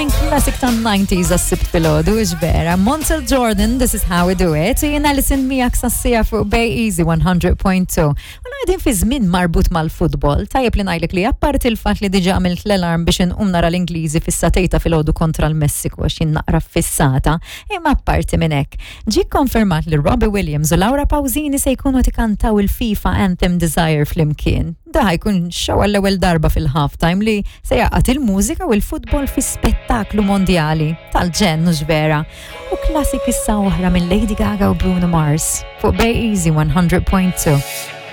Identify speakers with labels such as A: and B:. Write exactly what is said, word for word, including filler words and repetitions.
A: minn classic tan-nineties għas-Sibt filgħodu, vera. Montell Jordan, "This Is How We Do It." Jien Alison miegħek sas-siegħa fuq Bay Easy one hundred point two. U qegħdin fi żmien marbut mal-futbol. Tajjeb li ngħidlek li apparti il-fatt li diġà għamilt l-alarm biex inqum nara l-Ingliżi fis-sagħtejn ta' filgħodu kontra l-Messiku għax jien naqra fissata, imma apparti minn hekk, ġie konfermat li Robbie Williams u Laura Pausini se jkunu jkantaw il-FIFA Anthem "Desire" flimkien. Da jkun show għall-ewwel darba fil-halftime li se jgħaqqad il-mużika u l-futbol fi spettaklu mondjali tal-ġenn, mhux vera? U classic issa oħra minn Lady Gaga u Bruno Mars fuq Bay Easy one hundred point two.